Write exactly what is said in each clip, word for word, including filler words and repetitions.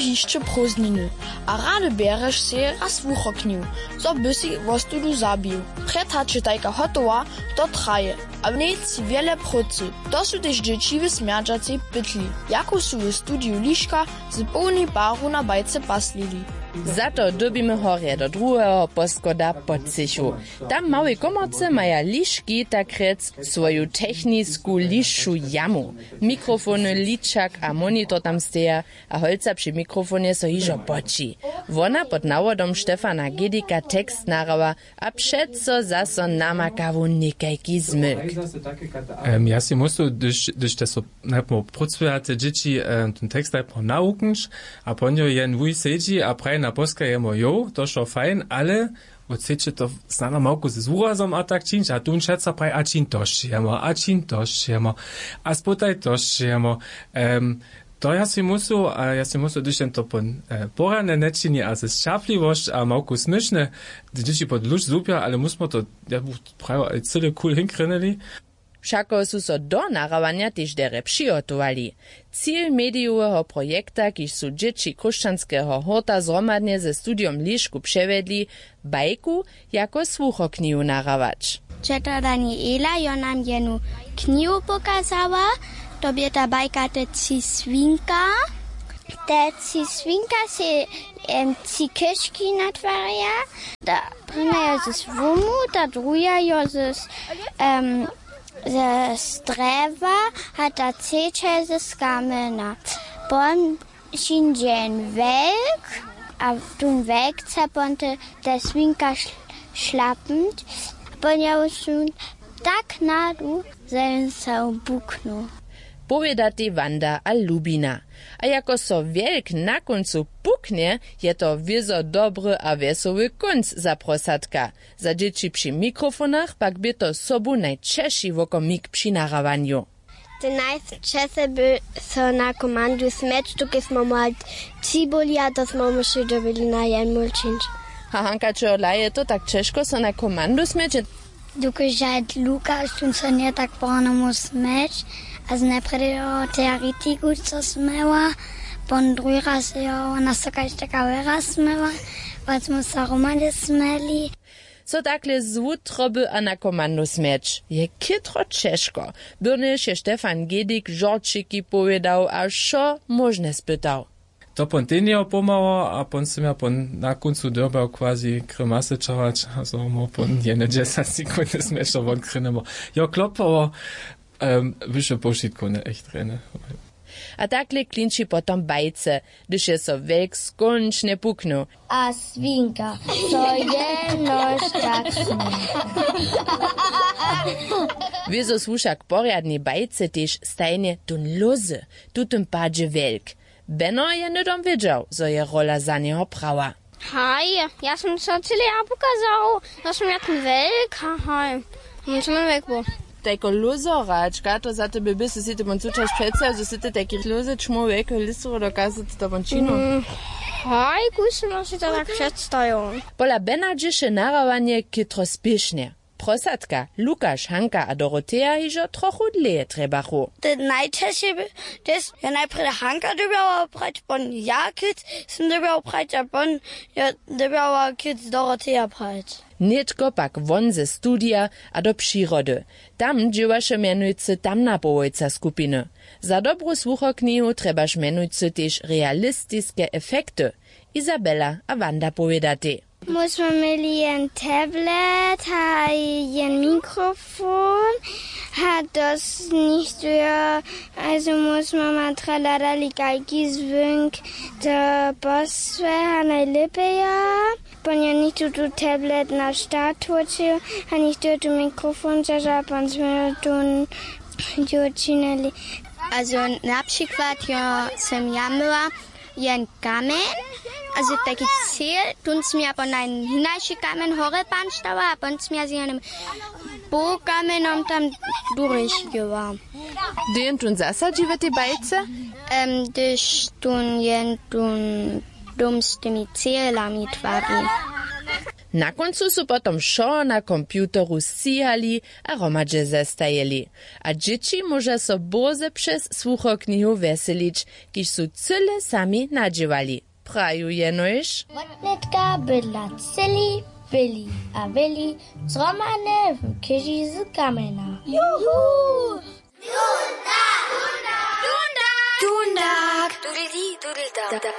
Hišće prózdniny a rady bjerješ sej raz wuchoknju, zo by sej wostudu zabił. Před hač je tajka hotowa, to traje, a w njej tři wjele prócy. To su tež dźěći w smjerdźacej pytli, jaku su w studiju liška z połnej paru na bajce paslili. Za to dyrbimy horje do druheho poschoda pod třěchu. Tam w małej komorce maja liški tak rjec swoju technisku lišću jamu. Mikrofony, ličak a monitor tam steja, a holca při mikrofonje so hižo poći. Wona pod nawodom Štefana Gedika tekst nahrawa a přeco zaso namaka wón někajki zmylk. Em, ja sej myslu, hdyž hdyž te so najpr prócujate dźěći, em, ten tekst najpr nawuknć, a po njo jen wuj sedźi a praji na poska jemu jo, to wšo fajn, ale wót chceće to snano małku z wurazom a tak čińć, a tu wón šaca praji, a čiń to sće jemo, a čiń to sće jemo, a spotaj to sće jemo. Em, to ja sej myslu, a ja sej myslu, hdyž jen to pon e, porjadnje nječini a z sćerpliwosć a małku směšne, dźěći pod luž zupja, ale my smo to, ja bych prajił, cyle cool hinkrynyli. Wšako su so do nahrowanja tež derje přihotowali. Cil medijoweho projekta, kiž su dźěći chróšćanskeho hórta zhromadnje ze studijom lišku přewjedli, bajku jako słuchoknihu nahrawać. Četo daniela jo nam jenu knihu pokazała. To bě ta bajka te tři swinka. Te tři swinka sej em, tři kyški natwarja. Ta prěnja jo z słomu, ta druha jo z em, ze strjewa, a ta třeća je z kamjena. Pon přińdźe jen wjelk, a tón wjelk chce pon te, te swinka šlapnąć. Pon je wón tak nadu, zo je so puknył. Powědatej Wanda a Lubina. A jako so wjelk na kóncu puknje, je to wězo dobry a wjesoły kónc za prosadka. Za dźěći při mikrofonach pak bě to sobu najćeši wokomik při nahrawanju. Ty najčesy by so na komandu smjeć, tuke smo mali tři byli, a to smo mušli dobyli na jen mól čińć. A hanka, čehodla je to tak ćežko so na komandu smjeć? Dokelž je lukaš tón so nje tak porano móhł smjeć, a z najprjedy jeho teoretiku so smjeła, pon druhi raz jeho wona so kaž taka wera smjeła, wot smo so hromady smjeli. So takle z wutroby a na komandu smjeć je chětro ćežko. Byrnjež je štefan gedik žorćiki powědał a wšo móžne spytał. To pon ten jeho pomhało, a pon sym ja pon na kóncu dyrbjał quasi grimasy ćahować, a zo móhł pon jene dźesać sekundy smješno won krynemo. Jo, klopało. Em, wyše powšitkowne, echt rjene. A takle klinči potom bajce, hdyž je so wjelk skónčnje puknył. A swinka, so jenož tak smje. Wězo słuša k porjadnej bajce tež stajnje tón lózy, w tutym padźe wjelk. Beno je hnydom wědźał, zo je rola za njeho prawa. Haj, ja som so cyle ja pokazał, zo som jak wjelk, haj, som wjelk był. Tajko lózo hračka, to za tebe by sy si ty won cučaš přeca, zo sy ty tajki lózy čmoł wjelkeho listoru dokazac to won činu. Haj, kuž som si to tak předstajił. Pola bena dźěše nahrawanje chětro spěšnje. Prosadka, lukaš, hanka a doroteja hižo trochu dlěje trjebachu. Te najćežše by tež, ja najprjedy hanka dyrbjała prać, pon ja kěc sym dyrbjał prać a pon ja dyrbjała kěc doroteja prać. Nětko pak won ze studija a do přirody. Tam dźěłaše mjenujcy tamna powojca skupiny. Za dobru słuchoknihu trjebaš mjenujcy tež realistiske efekty. Izabela a wanda powědatej. My smy měli jen tablet a jen mikrofon a dosć nichtó jo, also my smy ma traladali kajki zwónk to posłe a najlěpeja. Pon jo nichtó tu tablet na start wróćił a nichtó jo tu mikrofon zaža a pon smy jo tu jo činili. Also na přikład jo sym ja myła jen kamjeń, also taki cel, tón směja po najn hinajši kamjeń horje panštała a pon směja z jenym półkamjenom tam durješkiła. Hdy jen tón zasadźi w tej bajce? Em, hdyž tón jen tón dóm z tymi celami twari. Na kóncu su potom wšo na komputeru sćihali a hromadźe zestajili. A dźěći móža so bórze přez słuchoknihu wjeselić, kiž su cyle sami nadźěłali. Praju jenož: Wotnětka bydla cyli, byli a wěli, zhromadnje w chěži z kamjena. Juhu! Tunda! Tunda!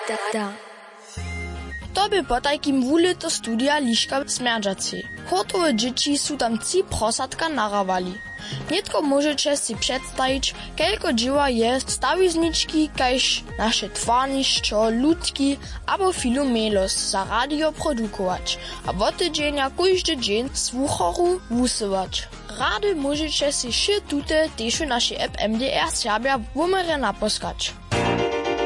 Tunda! To bě potajkim wulěto studija Liška Smjerdźacej. Hórtowe dźěći su tam tři prosatka nahrałali. Nětko móžeće sej předstajić, kelko dźěła je stawiznički kaž naše twarnišćo, lutki abo filomelos za radio produkować a wot tydźenja kóždy dźeń słucharu wusyłać. Rady móžeće sej wšě tute tež w našej app M D R Serbja wuměrje naposkać.